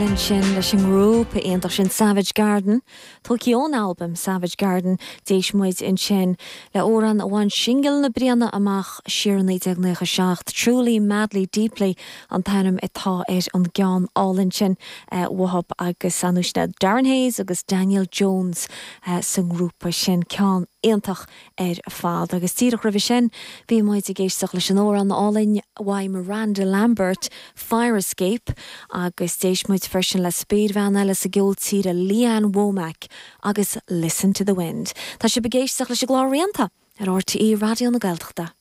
Ansin leis an ngrúpa iontach sin Savage Garden, tógtha ón albam Savage Garden, d'éist muid ansin le amhrán a bhain singil na bliana amach siar i 1997, Truly Madly Deeply an t-ainm atá ar an gceann álainn sin uathu agus ar ndóigh Darren Hayes agus Daniel Jones sa ngrúpa sin, ceann iontach ar fad. Agus díreach roimhe sin bhí muid ag éisteacht leis an amhrán álainn uaidh Miranda Lambert, Fire Escape, agus d'éist muid freisin le spéirbhean eile sa gceol tíre, Lee Ann Womack agus Listen to the Wind. Tá sibh ag éisteacht leis an gclár Rianta ar RTÉ Raidió na Gaeltachta.